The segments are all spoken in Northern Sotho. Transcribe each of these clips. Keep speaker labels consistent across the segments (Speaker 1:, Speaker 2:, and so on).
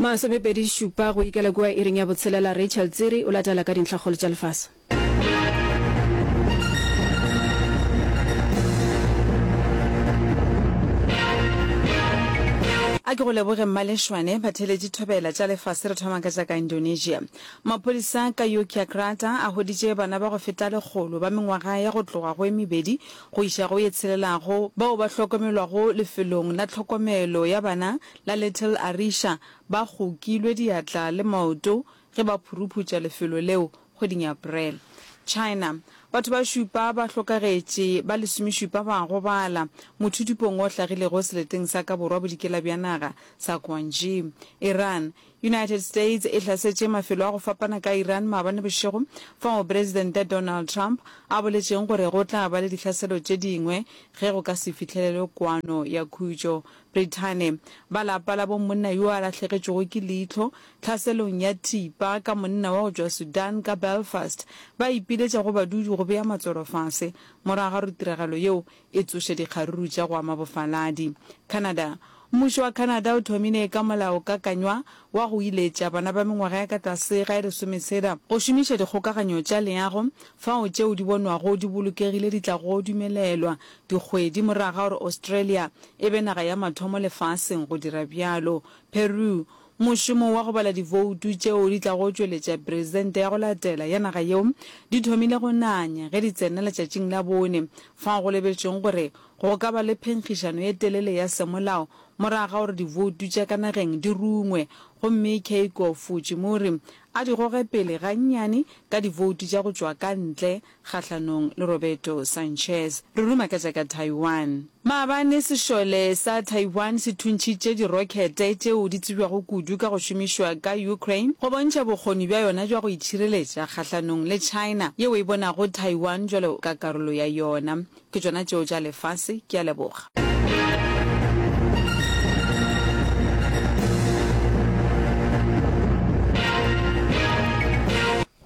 Speaker 1: Masomepedi šupa go ikela kua iring ya botshelela, Rachel Tsiri o latela ka dintlhakgolo tša lefase.
Speaker 2: A ke go leboge Mmalešwane, batheeletši thobela tša lefase re thoma ka tša ka Indonesia. Maphodisa ka Yogyakarta a hweditše bana ba go feta lekgolo ba mengwaga ya go tloga go e mebedi go iša go ye tshelelago bao ba hlokomelwago lefelong la tlhokomelo ya bana la Little Arisha ba kgokilwe diatla le maoto ge ba phuruphutša lefelo leo kgweding ya April. China, Batho ba šupa ba hlokagetše, ba lesomešupa ba gobala mothudupong o hlagilego seleteng sa ka borwa-bodikela bja naga sa Guangxi. Iran, United States e hlasetše mafelo a go fapana ka Iran maabane bošego, fao Presidente Donald Trump a boletšeng gore go tla ba le dihlaselo tše dingwe ge go ka se fihlelelwe kwano ya khutšo. Brithane, Ba lapa la bo monna yo a lahlegetšwego ke leihlo tlhaselong ya thipa ka monna wa go tšwa Sudan ka Belfast ba ipiletša go badudi go bea matswalo fase morago ga gore tiragalo yeo e tsoše dikgaruru tša go ama bofaladi. Canada, Mmušo wa Canada o thomile ka molaokakanywa wa go iletša bana ba mengwaga ya ka tlase ga e lesometshela go šomiša dikgokaganyo tša leago fao tšeo di bonwago di bolokegile di tlago dumelelwa dikgwedi morago ga gore Australia e be naga ya mathomo lefaseng go dira bjalo. Peru, Mošomo wa go bala divoutu tšeo di tlago tšweletša presidente ya go latela ya naga yeo di thomile go nanya ge di tsena letšatšing la bone, fao go lebetšweng gore go ka ba le phenkgišano ye telele ya semolao morago ga gore divoutu tša ka nageng di rungwe gomme Keiko Fujimori a di goge pele gannyane ka divoutu tša go tšwa ka ntle kgahlanong le Roberto Sanchez. Re ruma ka tša ka Taiwan. Maabane sešole sa Taiwan se thuntšhitše dirokhete tšeo di tsebjago kudu ka go šomišwa ka Ukraine go bontšha bokgoni bja yona bja go itšhireletša kgahlanong le China yeo e bonago Taiwan bjalo ka karolo ya yona. Ke tšona tšeo tša lefase. Ke a leboga.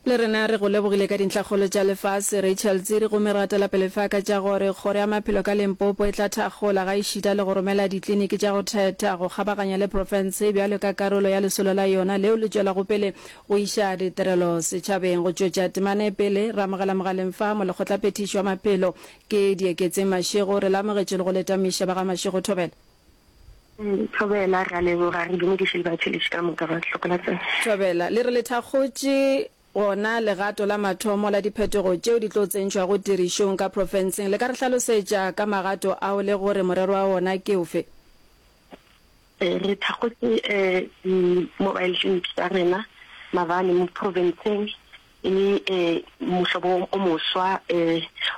Speaker 1: Le rena re go lebogile ka dintlhakgolo tša lefase, Rachel Tsiri, gomme re gatela pele fa ka tša gore Kgoro ya Maphelo ka Limpopo e tla thakgola ga ešita le go romela dikliniki tša go thetha go kgabaganya le profense bjalo ka karolo ya lesolo la yona leo le tšwelago pele go iša ditirelo setšhabeng. Go tšwetša temana e pele, re amogela mogaleng fa Molekgotlaphethiši wa Maphelo ke Dieketseng Mashego. Re le amogetše le go le tamiša ba ga Mashego Thobela.
Speaker 3: Thobela, re a leboga, re dumediše le batheeletši ka moka ba Hlokola-Tsebe.
Speaker 1: Thobela, le re le thakgotše gona legato la mathomo la diphetogo tšeo di tlo tsentšhwago tirišong ka profenseng. Le ka re hlalosetša ka magato ao le gore morero wa ona ke ofe?
Speaker 3: Re thakgotše di-mobile clinic tša rena maabane mo profenseng. E le mohlobo o moswa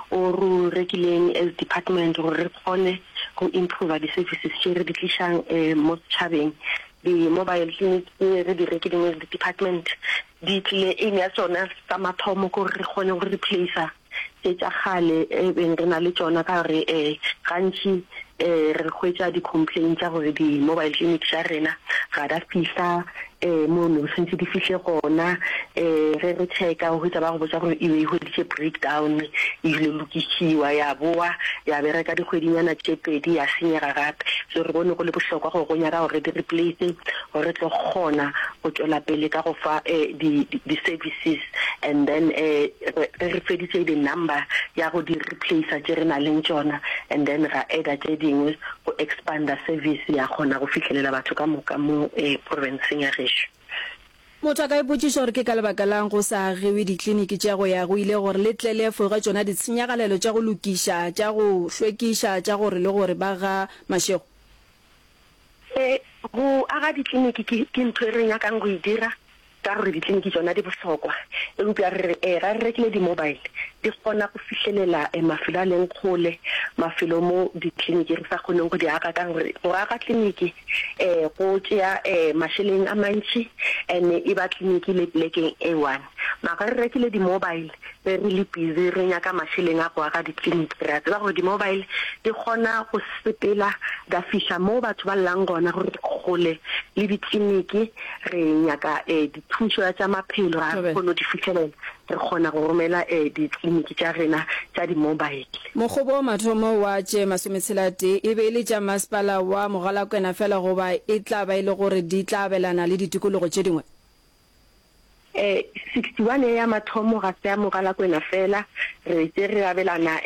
Speaker 3: o re o rekileng as department gore re kgone go improver di-services tše re di tlišang mo setšhabeng. Di-mobile clinic tše re di rekileng as department di tlile, aim ya tšona sa mathomo ke gore re kgone go replacer tše tša kgale e beng re na le tšona ka gore gantši re hwetša di-complaint tša gore di-mobile clinic tša rena ga da fihla mo ne santse di fihle gona. Ge re checka o hwetša ba go botša gore e be e hweditše breakdown e ile lokišiwa ya bowa ya bereka dikgwedinyana tše pedi ya senyega gape. So re bone go le bohlokwa gore go nyaka gore re di replace gore re tlo kgona go tšwela pele ka go fa di-services and then ge re feditše the number ya go di replacer tše re na leng tšona and then ra adder tše dingwe go expander service ya kgona go fihlelela batho ka moka mo profenseng ya gešo.
Speaker 1: Motho a ka ipotšiša gore ke ka lebaka la'ng go sa agiwe dikliniki tša go ya go ile gore le tle le efoge tšona ditshenyagalelo tša go lokiša, tša go hlwekiša, tša gore le gore ba ga Mashego.
Speaker 3: Go aga dikliniki ke ntho e re nyakang go e dira ka gore dikliniki tšona di bohlokwa, eupša re re ee ga re rekile di-mobile di kgona go fihlelela mafelo a leng kgole, mafelo mo dikliniki re sa kgoneng go di aga ka gore go aga kliniki go tšea mašeleng a mantši and e ba kliniki le plekeng e one. Mara ge re rekile di-mobile Ge re le busy re nyaka mašeleng a go aga dikliniki, re a tseba gore di-mobile di kgona go sepela da fihla mo batho ba llang gona gore re kgole le dikliniki, re nyaka dithušo ya tša maphelo ga re kgone go di fihlelela. re kgona go romela ditleliniki tša rena tša di-mobile.
Speaker 1: Mokgobo wa mathomo wa tše masometshela-tee e be e le tša masepala wa Mogalakwena fela goba e tla ba e le gore di tla abelana le ditikologo tše dingwe?
Speaker 3: 61 ye ya mathomo ga se ya Mogalakwena fela, re tše re abelana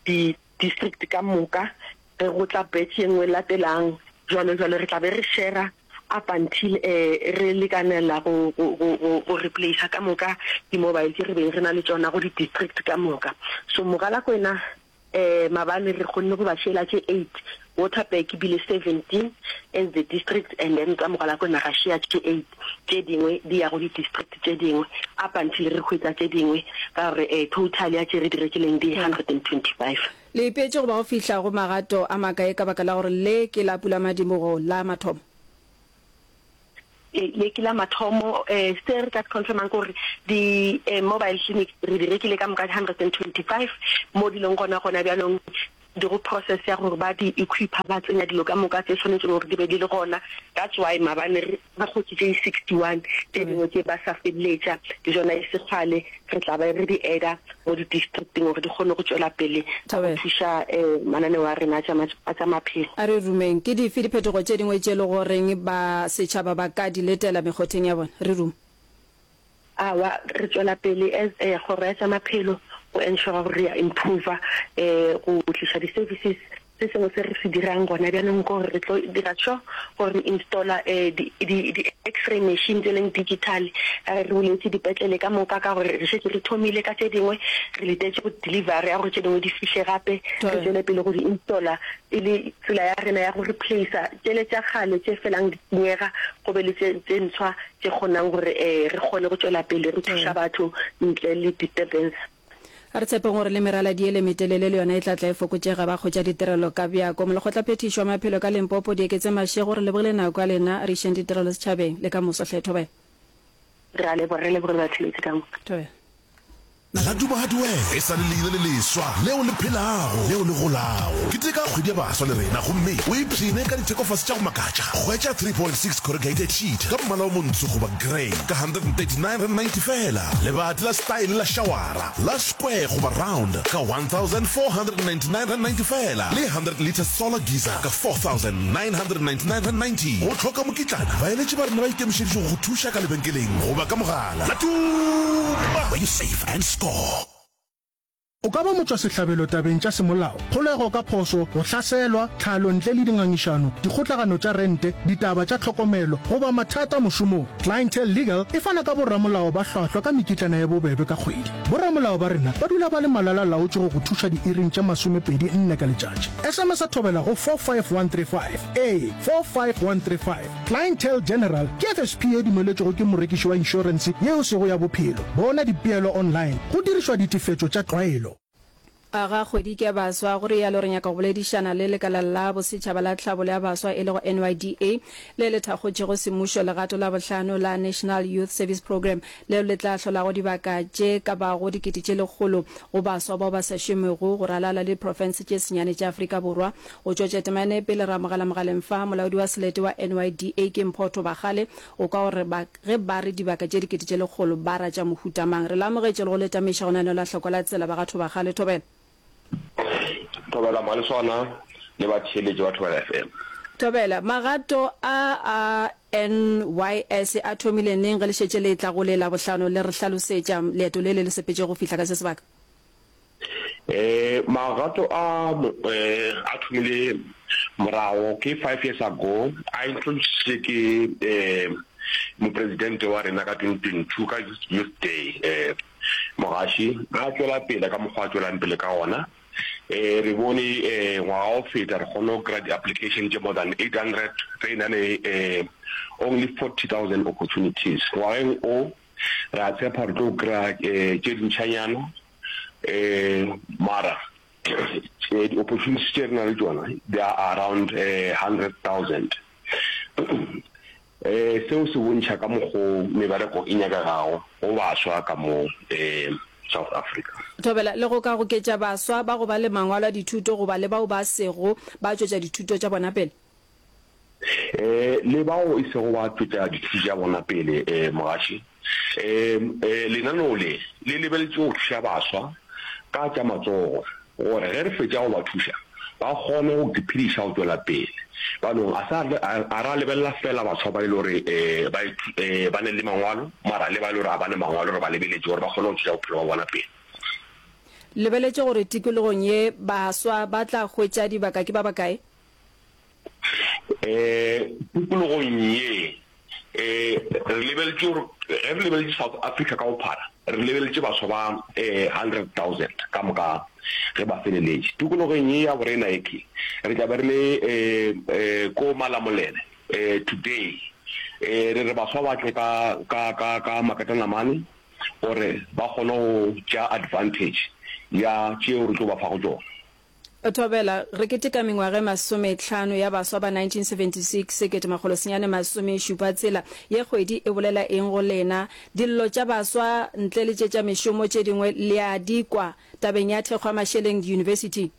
Speaker 3: di-district ka moka, ge go tla batch ye nngwe e latelang jwalo jwalo, re tla be re shera up until re lekanela go go go go replacer ka moka di-mobile tše re beng re na le tšona go di-district ka moka. So Mogalakwena mabane re kgonne go ba šela tše eight, Waterberg e bile 17 as the district and then tsa Mogalakwena ra šea tše eight, tše dingwe di ya go di-district tše dingwe up until re hwetša tše dingwe ka gore total ya tše re di rekileng di 125.
Speaker 1: Le ipeetše go ba go fihla go magato a makae ka baka la gore le ke la pulamadibogo la mathomo?
Speaker 3: Ee, le ke la mathomo. Se re ka se confirmang ke gore di mobile clinic re di rekile ka moka 125 mo di leng gona gona bjalong di go process ya gore ba di equipa ba tsenya dilo ka moka tse swanetšeng gore di be di le gona. That's why maabane re Ba kgotše tše 61, tše dingwe tše ba sa feleletša le tšona e se kgale re tla ba re di adder mo di districting gore di kgone go tšwela pele ka go thuša mananeo a rena a tša maphelo.
Speaker 1: A re rumeng, ke dife diphetogo tše dingwe tše e le goreng ba setšhaba ba ka di letela mekgotheng ya bona? Re rume.
Speaker 3: Aowa, re tšwela pele as kgoro ya tša maphelo go ensure gore re a improver go tliša di services. Se sengwe se re se dirang gona bjanong ke gore re tlo dira sure gore re installer di di di x-ray machine tse leng digital ka ge re buletše dipetlele ka moka ka gore re šetše re thomile ka tše dingwe re letetše go delivery ya gore tše dingwe di fihle gape re tšwele pele go di installer e le tsela ya rena ya go replacer tšele tša kgale tše felang di senyega go be le tše tše ntshwa tše kgonang gore re kgone go tšwela pele re thuša batho ntle le disturbance.
Speaker 1: A re tshepeng gore le meraladi yele metelele le yona e tla tla e fokotšega ba hwetša ditirelo ka bjako. Molekgotlaphethiši wa maphelo ka Limpopo, Dieketse Mashego, re lebogile nako ya lena, re išeng ditirelo setšhabeng le ka moso hle. Thobela.
Speaker 3: Re a leboga, re leboge le batheeletši ka moka.
Speaker 1: Thobela.
Speaker 4: La Duba Hardware e sa le leina le leswa leo le phelago, leo le golago. Keteka kgwedi ya baswa le rena gomme o ipshine ka dithekofase tša go makatša. Hwetša 3.6 corrugated sheet ka mmala o montsho goba grey ka R139.90 feela. Lebati la style la šawara la square goba round ka R1499.90 feela le 100 litre solar geyser ka R4999.90. O hloka mokitlana? Baeletši ba rena ba ikemišeditše go go thuša ka lebenkeleng goba ka mogala. La Tuma! Where you save and score.
Speaker 5: O ka ba motšwasehlabelo tabeng tša semolao, kgolego ka phošo, go hlaselwa, tlhalo ntle le dingangišano, dikgotlagano tša rente, ditaba tša tlhokomelo, goba mathata mošomong. Clientele Legal e fana ka boramolao ba hlwahlwa ka mekitlana ye bobebe ka kgwedi. Boramolao ba rena ba dula ba le malala-laotšwe go go thuša diiring tše masomepedi nne ka letšatši. SMS-a thobela go 45135. Ee, 45135. Clientele General ke FSP ye dumeletšwego ke morekiši wa inšorense ye e sego ya bophelo. Bona dipeelo online go dirišwa ditefetšo tša tlwaelo.
Speaker 1: Aga kgwedi ke ya baswa, go realo re nyaka go boledišana le lekala la bosetšhaba la tlhabolo ya baswa e lego NYDA le le thakgotšego semmušo legato la bohlano la National Youth Service Programme leo le tla hlolago dibaka tše ka bago 100,000 go baswa bao ba sa šomego go ralala le diprofense tše senyane tša Afrika Borwa. Go tšwa Tšetemane pele re amogela mogaleng fa, molaodi wa selete wa NYDA ke Mpho Thobakgale go kwa gore ba ge ba re dibaka tše 100,000 ba ra tša mohuta mang. Re le amogetše le go le tamiša go naneola hloko la tsela ba ga Thobakgale. Thobela.
Speaker 6: Thobela Maleswana le batheeletši ba Thobela FM.
Speaker 1: Thobela, Magato a a NYS a thomile neng ge le šetše le etla go le Labohlano le re hlalosetša leeto le le le sepetšego go fihla ka se sebaka?
Speaker 6: Eh, magato a eh, a thomile morago ke five years ago a introduced ke eh, mopresidente wa rena ka 2022 ka youth day eh, mogaši a tšwela pele ka mokgwa a tšwelang pele ka gona eh, re bone eh, ngwaga o feta re kgone go kry-a di-application tše more than 800 re na le eh, only 40000 opportunities ngwageng o Re a tshepa re tlo kry-a tše dintšhanyana um mara di-opportunities tše re na le tšona they are around 100,000. Um seo se bontšha ka mokgo mebereko e nyakegago go baswa ka mo um South Africa.
Speaker 1: Thobela le go ka goketša baswa ba go ba le mangwalo a dithuto goba le bao ba sego ba tšwetša dithuto tša bona pele.
Speaker 6: Um le bao e sego ba tšwetša dithuto tša bona pele, um mogaši, um lenaneo le le lebeletše go thuša baswa ka tša matsogo gore ge re fetša go ba thuša ba kgone go iphediša go tšwela pele. Banong a sa a ra lebelela fela baswa ba e le gore um ba ba ne le mangwalo mara le ba e le gore ga ba ne mangwalo re ba lebeletše gore ba kgone go tšwetša bophelo ba bona pele.
Speaker 1: Lebeletše gore tikologong ye baswa ba tla hwetša dibaka ke ba bakae?
Speaker 6: Um tikologong ye um re lebeletše gore ge re lebeletše South Africa ka bophara re lebeletše baswa ba um 100,000 ka moka ge ba feleletše. Tikologong ye ya borena ye ke re tla be re le um um ko Malamulele um today um re re baswa ba tle ka ka ka ka makatanamane gore ba kgone go tšea advantage ya tšeo re tlo ba fago tšona.
Speaker 1: Thobela, Re keteka mengwaga e masometlhano ya baswa ba 1976, 1976. Ye kgwedi e bolela eng go lena? Dillo tša baswa ntle le tše tša mešomo tše dingwe le a di kwa tabeng ya thekgo ya mašeleng diyunibesithi?